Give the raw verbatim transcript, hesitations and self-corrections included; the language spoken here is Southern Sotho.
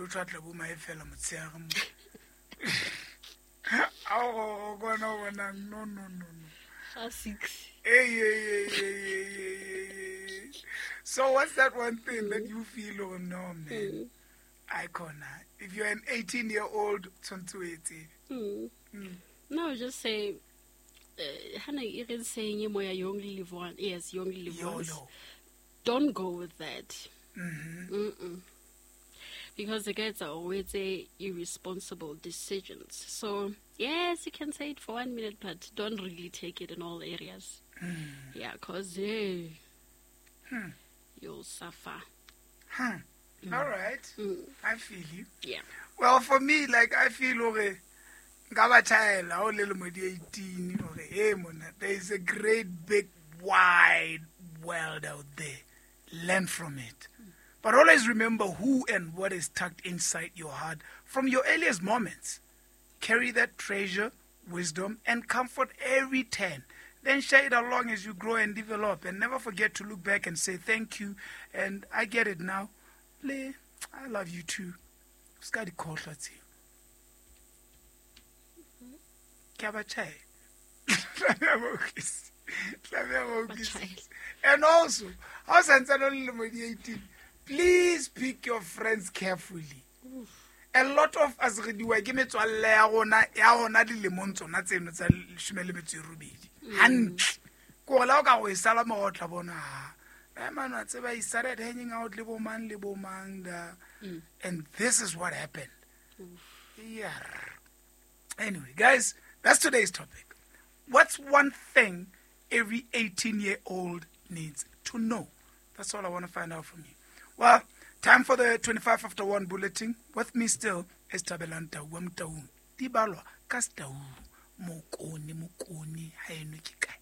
Mosotho a tla bo mae fela motshehare mo. Ao go bona bonang no no no no. Ga six. Hey, hey, hey, hey, hey, hey, hey. So what's that one thing that you feel, oh no, man? Mm. Icon. If you're an eighteen year old, tshwanetse o e tsebe. Mm. Mm. No, just say, uh, hana e re saying e moya you only live once. Yes, you only live once. YOLO. Don't go with that. Mm-hmm. Mm-mm. Because the guys are always say irresponsible decisions. So, yes, you can say it for one minute, but don't really take it in all areas. Mm. Yeah, 'cause hey, Hmm. you'll suffer. Hmm. All right. Mm. I feel you. Yeah. Well, for me, like, I feel hore nka ba tjhaela ha o le lemo di eighteen, hore, hey, monna, there is a great big wide world out there. Learn from it. But always remember who and what is tucked inside your heart from your earliest moments. Carry that treasure, wisdom, and comfort every turn. Then share it along as you grow and develop. And never forget to look back and say thank you. And I get it now. Le, I love you too. Ska di khohlwa tseo. Ke a ba tjhaela. Tlameha ba utlwisise. Tlameha ba utlwisise. Tjhaela. And also, ha o santsane o le lemo di eighteen, please pick your friends carefully. Oof. A lot of us re diwa ke metswalle ya rona, ya rona dilemong tsona tseno tsa leshome le metso e robedi. Hantle. Ke hore le ha o ka re o e sala morao o tla bona, ha, eh, man, wa tseba, he started hanging out le bo mang le bo mang da. Mm. And this is what happened. Oof. Yeah. Anyway, guys, that's today's topic. What's one thing every eighteen-year-old needs to know? That's all I wanna find out from you. Well, time for the twenty-five after one bulletin. With me still is Thabelang Tau wa Motaung. Di balwa ka Setau. Mokone, mokone, ha eno ke kae?